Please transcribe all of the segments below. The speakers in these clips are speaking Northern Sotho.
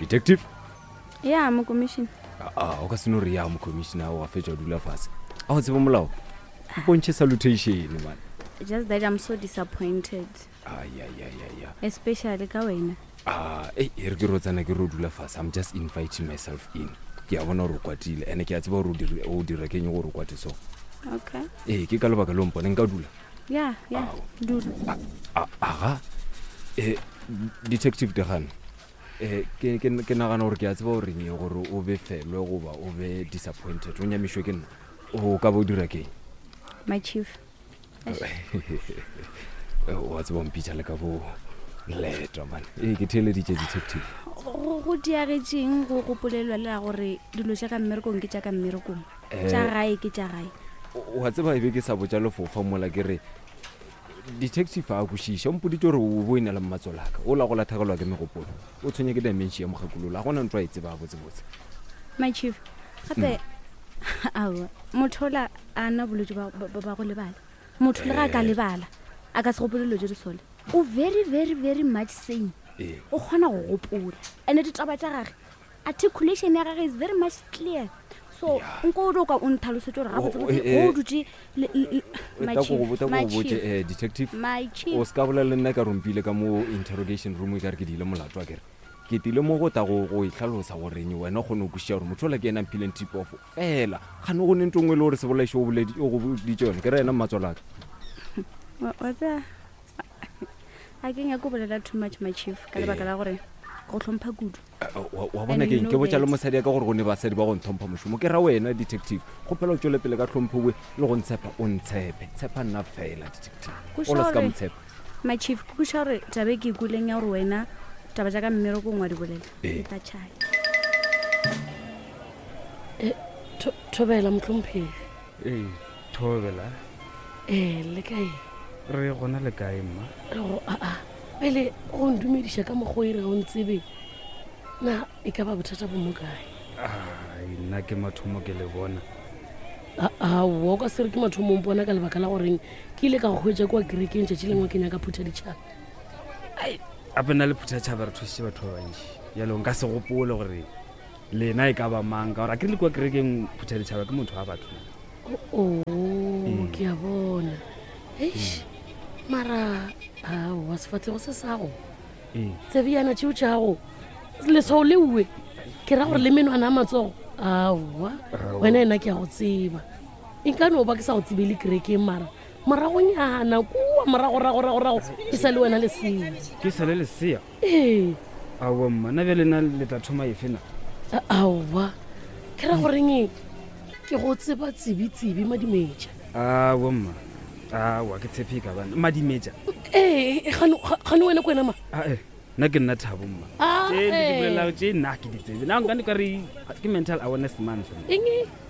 Detective? Ya, mokomišene. Aa, o ka se no re ya mokomišene wa fetša o dula fase. A o tseba molao? Mpontšhe salutation, man. Just that I'm so disappointed. Ai, ai, ai, ai, ai. Especially ka wena. Ah, ei, e re ke ro tsena ke ro dula fase. I'm just inviting myself in. Ke a bona gore o kwatile, ene ke a tseba gore o dire- o dira keng gore o kwate so. Okay. Ee, ke ka lebaka leo mpone nka dula. Ya, ya, dula. A- Aga, eh, Detective Degane, eh, ke, ke, ke nagana gore ke a tseba gore eng gore o befelwe goba o be disappointed, o nyamišwe ke nna. O ka ba o dira keng? My chief. Wa tseba o mpitša le ka bo leta man. Ee, ke theeleditše detective. Go go diagetšeng go gopolelwa le la gore dilo tša ka mmerekong ke tša ka mmerekong. Eh. Tša gae ke tša gae. Wa tseba e be ke sa botša lefofa mola ke re detective a kwešiša o mpoditše gore o bo e na le mmatsolaka o la go lathegelwa ke megopolo o tshwenya ke dementia mokgekolola ga gona ntho a e tseba botsebotse. My chief, gape aowa motho ola a na bolwetse ba ba- ba go lebala. Motho le ga a ka Eh. lebala a ka se gopole dilo tše di sole. O very very very much sane. Ee. O kgona go gopola. And-e ditaba tša gage articulation ya gage is very much clear. So nko o ka o ntlhalosetse gore gabotsebotse Oh, eh, o dutše le- le- le- my Ta ko chief, go botsa my ko go botse chief, eh, detective my chief. o se ka bolela le nna ka rompile ka mo interrogation room e ka re ke diile molato a kere ke tile mo go ta go go itlhalosa goreng wena o kgone go kwešiša gore motho ola ke ena mphileng tip off fela gane go ne nto nngwe e le gore sebolaiši o boledi- o go boditše yone ke re ena mmatswalaka Wa wa tseba ga ke nyake go bolela too much my chief ka lebaka la gore go hlompha kudu. Wa wa bona And keng you ke know botša le that. mosadi ya ka gore go ne basadi ba go ntlhompha mošomo ke ra wena detective kgopela o tšwele pele ka tlhompho we le go ntshepa o ntshepe tshepa nna fela detective Kweša o la se ka gore- motshepa My chief, ke kweša gore taba e ke e kweleng ya gore wena taba tša ka mmerekong wa di bolela Ee. e tla tšhaya. Eh, tho- thobela mohlomphegi. Ee, thobela. Ee, le kae? Re gona le kae mma? Re go aa pele go ndumediša ka mokgwa o e re ga o ntsebe na e ka ba bothata bo mo kae? Ai, nna ke mathomo ke le bona. Aowa o ka se re ke mathomo o mpona ka lebaka la goreng ke ile ka go hwetša kua kerekeng tšatši lengwe ke nyaka phutha ditšhaba. Gape nna le phuthatšhaba re thusitše batho ba bantši. Bjalo nka se gopole gore lena e ka ba mang ka gore a ke re le kua kerekeng phuthaditšhaba ke motho wa batho. Oo, ke a bona. Eish, mara aowa sefahlego se sago Ee. tsebjana tšeo tšago leswao le uwe ke ra gore le menwana a matsogo aowa Aowa. wena ena ke a go tseba e nka no ba ke sa go tsebele kerekeng mara moragonyana kua moragoragoragorago ke sa le wena lesea Ke sa le lesea? Ee. Aowa mma, na bjale na le tla thoma efe na? Aowa ke ra goreng ke go tseba tsebi-tsebi madimetša. Aowa mma, aowa ke tshepe e ka bana madimetša. Ee, gane gane wena ke wena ma? Ae, nna ke nna Thabo mma. Ah, Tše le di eh. bolelago tše nna ke di tsebe. Na nka ka re ke mental awareness month. Eng?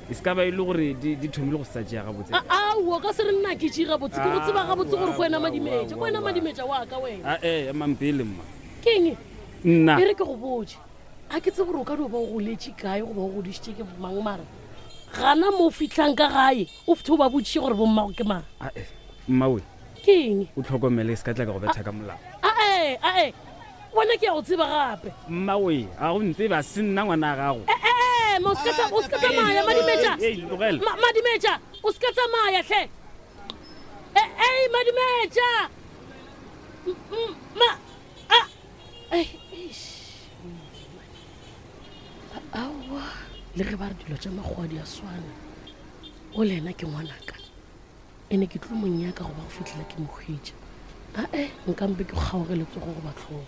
E se ka ba e le gore di di thomile go sa tšea gabotse. Aowa ka se re nna ke tšee gabotse ke go tseba gabotse gore ke wena Aowa, madimetša ke wena aowa. madimetša wa ka wena. Ae, emang pele mma. Ke eng? Nna. E re ke go botše. A ke tsebe gore o ka no ba o goletše kae goba o godišitše ke mang mara gana mo o fihlang ka gae o fithe o ba botšiše gore bommago ke mang. Ae, mmawe. Ke eng? O tlhokomele e se ka tla ka go betha ka molao. Ae, ae, wena ke ya go tseba gape. Mmawe, a go ntsebe a se nna ngwana gago. Ee, ma o se ka tsa- o se ka tsamaya Madimetša. Ei, ei, tlogela. Ma- Madimetša, o se ka tsamaya hle. E, ei, Madimetša. M- m- Ma, a, ei, eish. Aowa, le ge ba re dilo tša makgowa di a swana, o le yena ke ngwanaka. Ene ke tlo mo nyaka goba go fihlela ke mo hwetša. Ae, nka mpe ke kgaoge letsogo goba hlogo.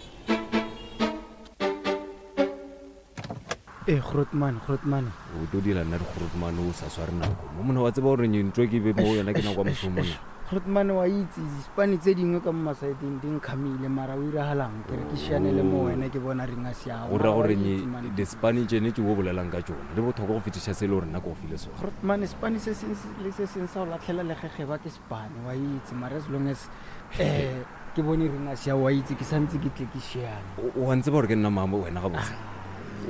Ee, Grootman, Grootman. O tlo dira nna di-Grootman o sa sware nako. Mo monna wa tseba gore ntho ke be mo yona ke nako ya mošomo monna. Grootman wa itse disipane tse dingwe ka mo masaeteng di nkgamile mara o iragalang ke re ke šiane le mo wena ke bona ring a siago. Go ra gore disipane tšene tše o bolelang ka tšona di bohlokwa go fetiša se e le gore nna ke go file sona. Grootman sepane se seng le se seng sa go latlhela legegeba ke sepane wa itse mara as long as um ke bone ring a siago wa itse ke santse ke tle ke šiane. O a ntseba gore ke nna mang wena gabotse?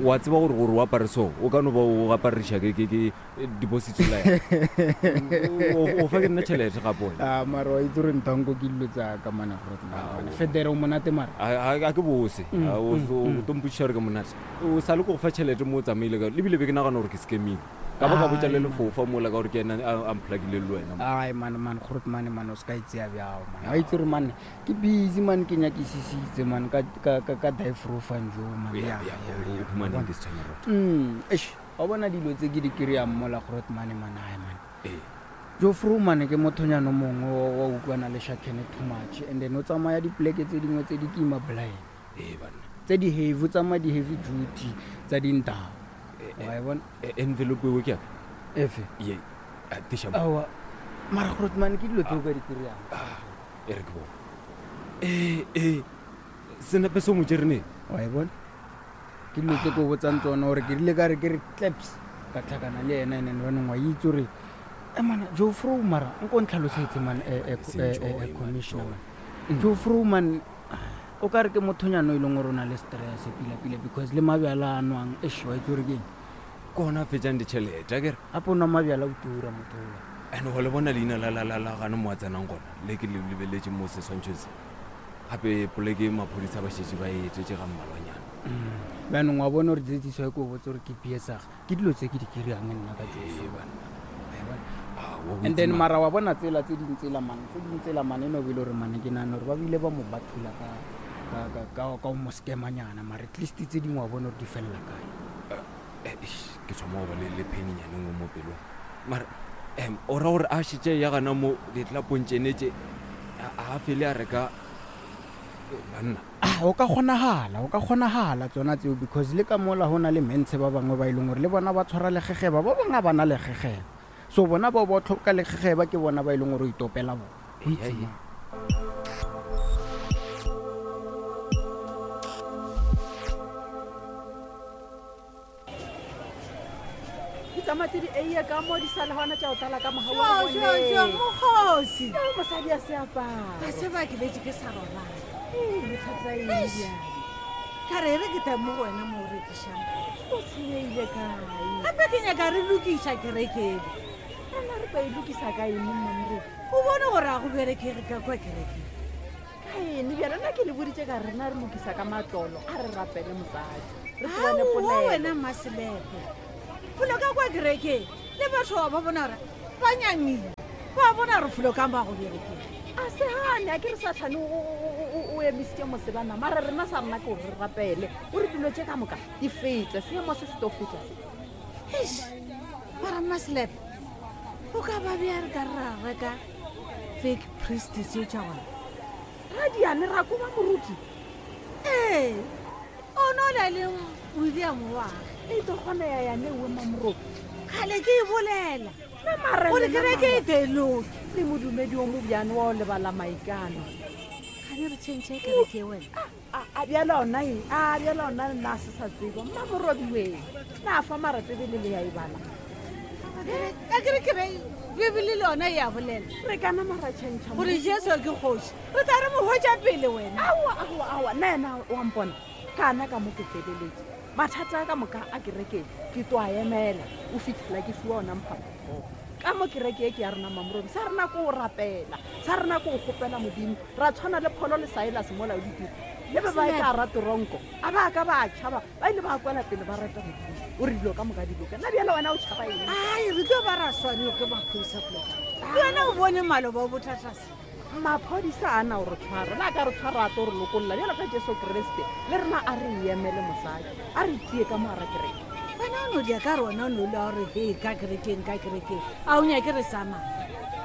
Wa tseba gore gore o apare so o ka no ba o apariša ke ke ke deposit la o fa ke nna tšhelete gape wena. A mara wa itse gore ntanko ke dilo tsa ka mana grootman federe o monate mara. A ke bose. O o to mpotšiša gore ke monate. O sa le ko go fa tšhelete mo o tsamaile ka lebile be ke nagana gore ke scamile. Ka ba ka botša le lefofa mola ka gore ke ena a mplakile le wena. Ai man man grootman man o se ka itsea bjao man. Wa itse gore man ke busy man ke nyakisisitse man ka ka ka ka dive jo man. Ya ya o humaneng this time around. Eish, wa bona dilo tse ke di kry-ang mola grootman man ai man. Ee. Jofro man ke mothonyana o mongwe wa utlwana le Shakene too much and then o tsamaya dipoleke tse dingwe tse di kima blind. Ee banna. Tse di heavy, o tsamaya di-heavy duty tsa dintao. Wa e bona? Envelope eo ke ya ka? Efe? Ye, a, tiša mo. Aowa, mara grootman ke dilo tse o ka di kry-ang. Ah, e re ke bone. Ee, ee, senepe se o mo tšere neng? Wa e bona? Ke dilo tse ke o botsang tsona gore ke rile ka re ke re claps ka tlhakana le ena and then banong wa itse gore e mana Jofro mara nko ntlhalosetse man, Seng joy, man, commissioner joy. man. Jofro man o ka re ke mothonyana o e leng gore o na le stress pila-pila because le mabjala a nwang, eish, wa itse gore ke eng? Ke ona a fetšang ditšhelete, akere? Gape o nwa mabjala o tura motho ola. And wa le bona leina la, la, la, la gane mo a tsenang gona, le ke le lebeletše mo seswantšhong se. Gape poleke maphodisa ba šetše ba e etetše ga mmalwanyana. Bjanong wa bona gore tsetsiso e ke o botse gore ke PSR, ke dilo tse ke di kry-ang nna ka Jofro. Ee, banna. Wa e bona? Ah, wa And then botse mara wa bona tsela tse ding tsela mane, tse ding tsela mane e no be e le gore mane ke nahana gore ba bile ba mo bathula ka o mo scamanyana, mara at least tse dingwe wa bona gore di fella kae. Eish, ke thoma go ba le pain-nyana e nngwe mo pelong. Mara, o ra gore a šetše ya gana mo ditlelapong tšene tše, a fele a reka banna? Ah, o ka kgonagala, o ka kgonagala tsona tseo because le ka mola ho na le mentshe ba bangwe ba e leng gore le bona ba tshwara legegeba, ba bangwe ga ba na legegeba. So bona bao ba tlhoka legegeba ke bona ba e leng gore o itopela bona. O itse Ee, ee. mang? Ditamati di eiye ka mo di sa le gona tša go tlala ka mogau wa Jo, jo, jo, bone. mokgosi. Yo, mosadi a se apara. Ga se ba ke betse ke sa robala. Ee, bothata eng Eish. bjale? Ka re re ke tla mo go wena mo o rekišang. O senyehile kae? Gape ke nyaka re lokiša kerekeng. Rena re tlo e lokisa ka eng, Mmamoruti? O bone gore a go berekege ka kwa kerekeng. Ka eng bjale? Nna ke le boditše ka rena re lokisa ka matlolo, a re rapele mosadi. Re tsebane Aowa, polelo. wena Mmaselepe. Folo ka kwa kerekeng, le batho ba bona gore ba nyamile. Ba bona gore folo ka mo a go berekeng. A se gane, a ke re Sathane o emisitše mosebana, mara rena sa rena ke gore re rapele. O re dilo tše ka moka di fete, seemo se se tlo feta se. Eish, mara Mmaselepe, o ka ba bja re ka re ra reka fake priest tseo tša gona? Radiane ra koba moruti? Ee, o no na le William wa gage. E tlo kgona ya yane ewe Mamoruti. Kgale ke e bolela. Nna mara Gore lena kereke e mara. te loke. Le modumedi o mobjane wa o lebala maikano. Gane re change kereke e wena. A bjala ona eng? A bjala ona nna a se sa tseba. Mmamoruti we. Na fa mara Bebele le ya e bala. A kere ke re Bebele le yona e a bolela. Re kana mara change mo. Gore Jesu ke kgoši. Re tla re mo hwetša pele wena. Aowa, aowa, aowa. Nna yena wa mpona. Kana ka mo ke feleletše. Mathata a ka moka a kereke ke tlo a emela. O fitlhela ke fiwa ona mphaphatho. Ka mo kereke e ke ya rena Mamoruti, sa rena ke o rapela, sa rena ke o kgopela Modimo. Ra tshwana le Pholo le Silas mola o ditiro. Le ba ba ka ra toronko, a ba ka ba tšhaba, ba ile ba kwela pele ba rata Modimo. O re dilo ka moka di loke. Nna bjale wena o tšhaba eng? Ai, re tlo ba ra swanelwa ke maphodisa poloka. Le wena o bone maloba o bothata se. Maphodisa a na o re tshwara, le a ka re tshwara a tlo re lokolla bjalo ka Jesu Kriste. Le rena a re emele mosadi, a re tie ka mo hara kereke. Wena o no dia ka re wena o no le wa gore, he, ka kerekeng, ka kerekeng. A o nyake re tsamaya?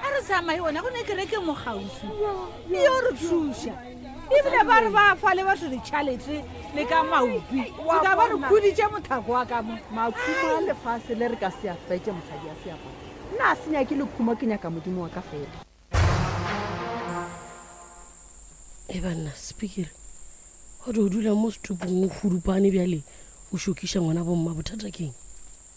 A re tsamaye wena, go ne kereke mo kgauswi. E yo re thuša. Ebile ba re ba fa le batho ditšhelete le ka maopi. Wa O ka ba re bona. khuditše mothako wa ka mo. Makhumo a lefase le re ka se a fetše mosadi a seaparo. Nna a se nyake lekhumo, ke nyaka Modimo wa ka fela. E banna, speaker, wa di o dula mo setupong o hudupane bjale, o šokiša ngwana bomma, bothata keng?